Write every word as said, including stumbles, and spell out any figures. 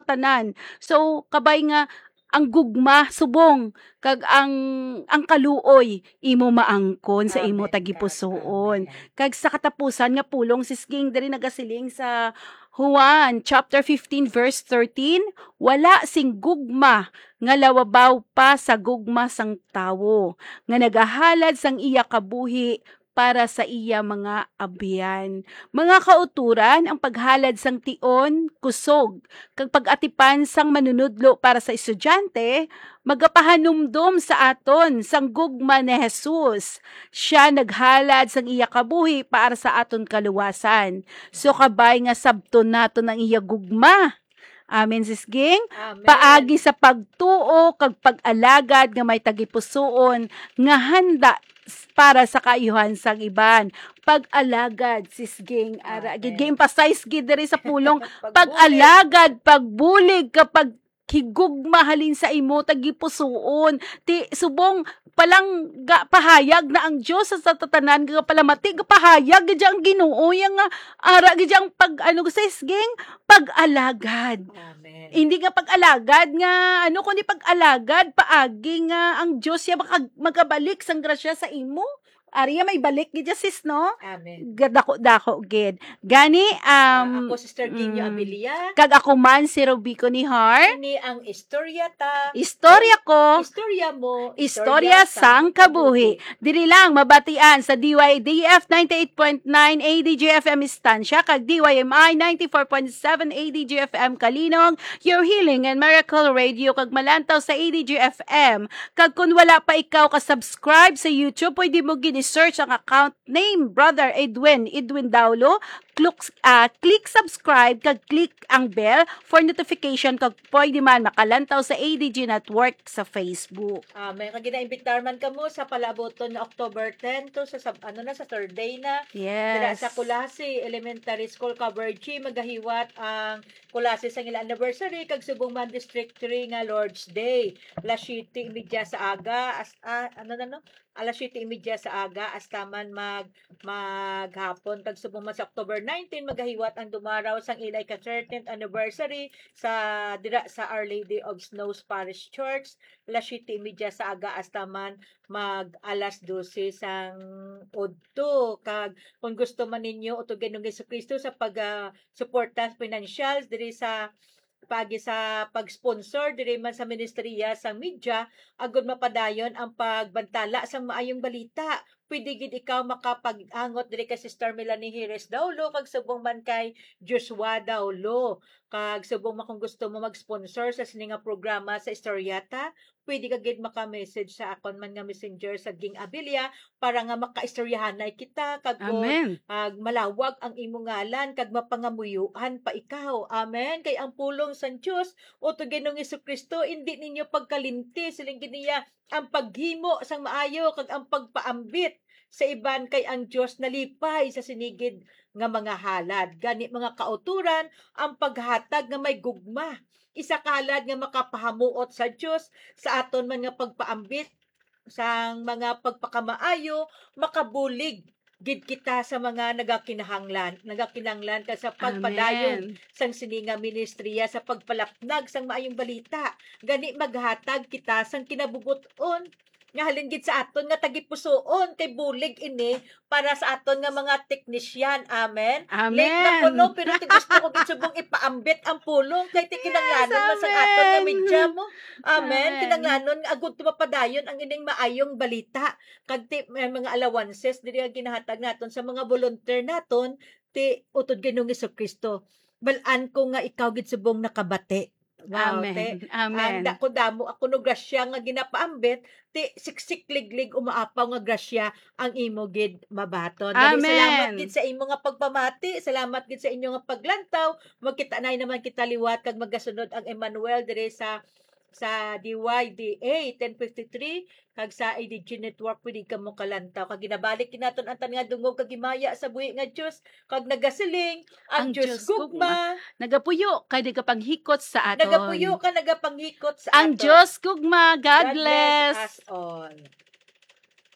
tanan. So, kabay nga ang gugma subong kag ang, ang kaluoy imo maangkon sa imo Amen, God. tagipusoon. Amen. Kag sa katapusan nga pulong, sis Ging, diri nagasiling sa Juan chapter fifteen verse thirteen, "Wala sing gugma nga labaw pa sa gugma sang tawo, nga nagahalad sang iya kabuhi para sa iya mga abyan." Mga kautoran, ang paghalad sang tion, kusog, kag pag-atipan sang manunudlo para sa estudyante, magapahanumdom sa aton sang gugma ni Jesus. Siya naghalad sang iya kabuhi para sa aton kaluwasan. So, kabay nga sabton naton ang iya gugma. Amen, sis Ging. Amen. Paagi sa pagtuo kag pag-alagad nga may tagipusoon nga handa s-, para sa kaayuhan sang iban. Pag-alagad, sis Ging. Ara, Amen. Gid, gi-emphasize gid diri sa pulong. Pagbulig. Pag-alagad, pagbulig, kag paghigugma halin sa imo tagipusoon. Ti, subong palangga pahayag na ang Dios sa, sa tatanan nga palamati, gapahayag gid ang Ginoo, yang nga ara gid ang pag, ano, sis Ging, pag-alagad. Amen. Hindi nga pag-alagad nga, ano, kundi pag-alagad, paagi nga ang Dios siya maka-, magabalik sang grasya sa imo. Ari, may balik gid siya, sis, no? Amen. Gadako-dako gid. Gani, Ah, um, ako, Sister Ginyo mm, Abilia. Kag ako man, si Rubico Nihar. Ini ang istorya ta. Istorya ko. Istorya mo. Istorya Istorya sang sang kabuhi. kabuhi. Diri lang, mabatian sa D Y D F ninety-eight point nine A D G F M Estancia, kag D Y M I ninety-four point seven A D G F M Calinog, your healing and miracle radio, kag malantaw sa A D G F M. Kag kun wala pa ikaw ka-subscribe sa YouTube, pwede mo gini-search ang account name, Brother Edwin, Edwin Daulo. Click, ah, click subscribe, kag click ang bell for notification, kag pwede man makalantaw sa A D G Network sa Facebook. Amen. Kag ginaimbitar man kamo sa palaabuton nga October ten to sa, sa, ano na, sa third day na. Dira sa Yes. Culasi Elementary School, Cavergy, magahiwat ang Culasi sang ila anniversary, kag subong man District three nga Lord's Day. Alas siyete y media sa aga, as-, ah, ano na, no? Alas siyete y media sa aga, hasta man mag-, maghapon. Kag subong man sa October nineteen, magahiwat ang dumaraw sang ila ika-thirteenth anniversary sa, dira sa Our Lady of Snows Parish Church. Alas siyete y media sa aga, hasta man mag alas dose sang udto. Kag kung gusto man ninyo utugan ang Jesu-Cristo sa pag, ah, suporta financial diri sa paagi sa pag-sponsor diri man sa ministriya sang media, agud mapadayon ang pagbantala sang maayong balita. Pwede gid ikaw makapag-angot diri kay Sister Melanie Jerez Daulo, kag subong man kay Joshua Daulo. Kag subong man kung gusto mo mag-sponsor sa sini nga programa sa Istorya Ta, pwede ka gid maka-message sa akon man nga messenger sa Ging Abilia para nga makaistoryahanay kita kag kon, Amen. ah, malawag ang imo ngalan kag mapangamuyoan pa ikaw. Amen. Kay ang pulong sang Dios, o to Ginoong Jesu-Cristo, indi ninyo pagkalimti, siling gid niya, ang paghimo sang maayo kag ang pagpaambit sa iban, kay ang Dios nalipay sa sini gid nga mga halad. Gani, mga kautoran, ang paghatag nga may gugma, isa ka halad nga makapahamuot sa Dios sa aton man nga pagpaambit sang mga pagpakamaayo, makabulig gid kita sa mga nagakinahanglan, nagakinahanglan ka sa pagpadayon Amen. sang sini nga ministriya sa pagpalapnag sang maayong balita. Gani, maghatag kita sang kinabubut-on nga halin gid sa aton nga tagipusoon, kay bulig ini para sa aton nga mga teknisyan. Amen? Late na Amen. kuno, pero ti gusto ko gid subong ipaambit ang pulong, kay ti Yes, kinahanglanon man sa aton nga amen. media mo. Amen. Amen. Kinahanglanon nga agud mapadayon ang ining maayong balita. Kag ti, may mga allowances diri nga ginahatag naton sa mga volunteer naton, ti utod Ginoong Jesu-Cristo. Bal-an ko nga ikaw gid subong nakabati. Wow, Amen. te. Amen. Ang dako damo ako no grasya nga ginapaambit, ti siksik liglig umaapaw nga grasya ang imo gid mabaton. Dali, salamat Amen. gid sa imo nga pagpamati, salamat gid sa inyo nga paglantaw. Magkita na naman kita liwat kag magasunod ang Emmanuel dire sa, sa D Y D A ten fifty-three kag sa A D G Network, pwede kamo kalantaw. Kag ginabalik gid naton ang tanan nga dungog kag himaya sa buhi nga Dios, kag nagasiling, ang Ang Dios Dios gugma. gugma. Nagapuyo kag nagapanghikot sa aton. Nagapuyo kag nagapanghikot sa Ang aton. Dios gugma. God God bless bless. us all.